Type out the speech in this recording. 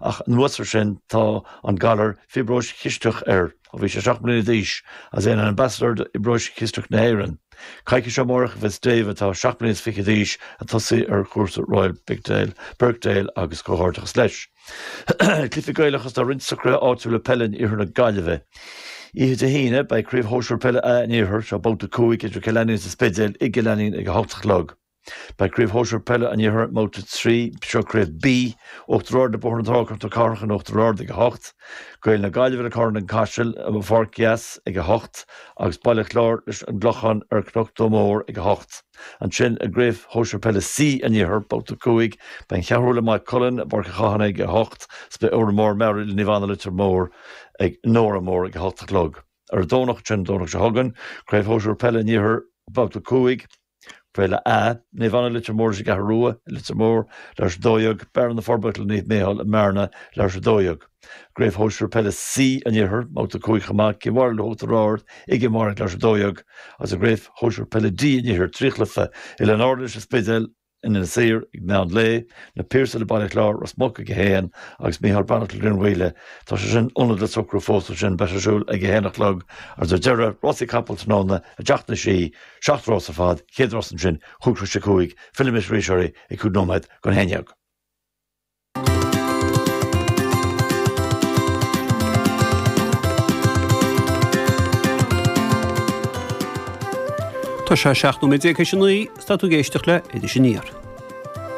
Ach anuas ar sin tá an galar fiobróis chisteach air ó bhí sé 7 mbliana d'aois agus é ina Ambassador d'Fhiobróis Chisteach na hÉireann. Coicís ó amárach a bheas Dave, atá 7 mbliana is fiche d'aois, ag tosaí ar chúrsa Royal Birkdale agus comhghairdeachas leis. Cluichí Gaelacha Tá roinnt socruithe áitiúla peile in iarthar na Gaillimhe. Oíche Dé hAoine, beidh Craobh Shóisir Peile A an Iarthair, seo babhta 5, idir Cill Ainnín agus An Spidéal i gCill Ainnín ag a 8 a chlog. Beidh Craobh Shóisir Peile an Iarthair i mBabhta 3, seo Craobh B, Uachtar Ard le Bóthar na Trá Cnoc na Cathrach in Uachtar Ard ag 8, Gaeil na Gaillimhe le Carna an Caiseal i bPáirc Dheas ag 8 agus Baile Chláir leis an gClochán ar Chnoc Mór ag 8. Ansin i gCraobh Shóisir Peile C an Iarthair, Babhta 5, beidh An Cheathrú le Maigh Cuilinn i bPáirc an Chathánaigh ag 8 is beidh Órán Mór Meáraí le Naomh Anna Leitir Móir ag in Órán Mór ag 8 a chlog. Ar an Domhnach, sin an Domhnach seo chugainn, Craobh Shóisir Peile an Iarthair, Babhta 5, Peile A, Naomh Anna Leitir Móir leis an gCeathrú Rua i Leitir Móir, leathuair tar éis 12, Bearna na Forbacha le Naomh Mícheál i mBearna, leathuair tar éis 12. Craobh Shóisir Peile C an Iarthair, Babhta 5 chomh maith, Cill Mháire le hUachtar Ard i gCill Mháire ag leathuair tar éis 12, agus i gCraobh Shóisir Peile D an Iarthair, 3 chluiche, Oileáin Árann leis an Spidéal, in Inis Oírr ag meán lae, Na Piarsaigh le Baile Chláir, Ros Muc ag 1 agus Micheál Breathnach le Rinn Mhaoile. Tá sé sin ionad le socrú fós ansin, beidh sé ar siúl ag 1 a chlog agus ar deireadh, rásaí capall tráthnóna i dTeach na Sí, 7 rás ar fad, chéad rás ansin, 5 tar éis 5, fillfidh mise arís oraibh ag 5 nóiméad don 11. Tá sé 17 nóiméad théis a 9 is tá tú ag éisteacht le Iris Aniar.